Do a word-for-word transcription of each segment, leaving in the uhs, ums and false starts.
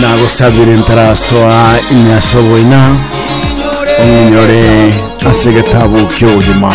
Nagosabire ntarasoa ime ase oboina, ong'inyore ase egetabu kia obogima.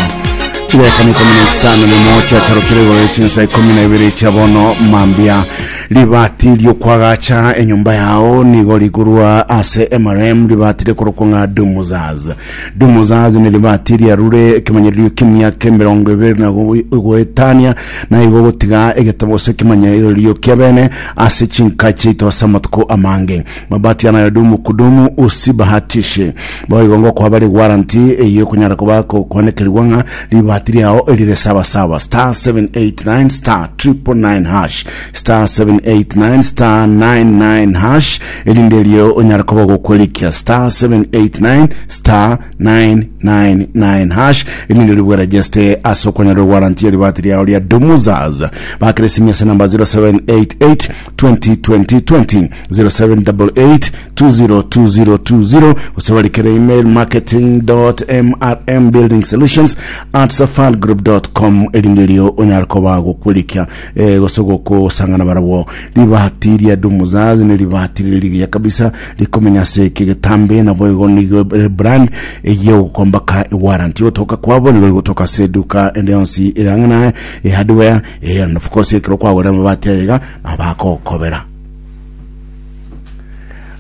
Chidakika na ikomi na isano nemo chiacharokire igoro chinsa ikomi na ibere chia bono mambia. Ribati riokwagacha enyomba yao nigo rigurwa ase M R M, ribati rikorokwa ng'a Dumuzaz. Dumuzaz ni ribati riarure ekemanyererio kemiaka emerongo ebere na goetania, na igo gotiga egetabo gose ekemanyererio kia bene ase chinka chiaito ase amatuko amange. Mabati yanayodumu kudumu, usibahatishe. Boigo ngokoa bari warranty eyo okonyara koba konekerigwa ng'a ribati riao erire sawasawa. star seven eight nine star nine nine nine hash, star seven eight nine star ninety-nine hash, erinde erio onyara koba gokwerikia star seven eight nine star nine nine nine hash, erinde ribwerejeste ase okonyora warranty ya ribati riao ria Dumuzaz. Bakere simu ase namba zero seven eight eight twenty twenty twenty, zero seven eight eight two zero two zero two zero, gose barikere email marketing dot M R M building solutions at safalgroup dot com, erinde rio onyara koba gokwerikia eh, gose gokosangana barabwo. Ribati ria Dumuzaz ni ribati riri rigiya kabisa, rikomenya ase egetambe, nabo igo nigo brand egiye gokombaka warranty gotoka kwabo nigo rigotoka ase eduka ende yonsi erang'ana e hardware, eh, and of course ekero kwagorera amabati ayega nabo bakokobera.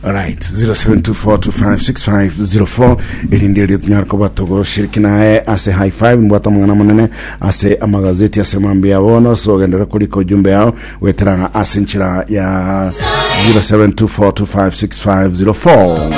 Alright, zero seven two four two five six five zero four, erinde erio tunyara kuba tugoshiriki naye ase high five. Mbwata amang'ana manene ase amagazeti ase mambi ya bono, so genderera kurika ujumbe yao wetera ase nchira ya zero seven two four two five six five zero four.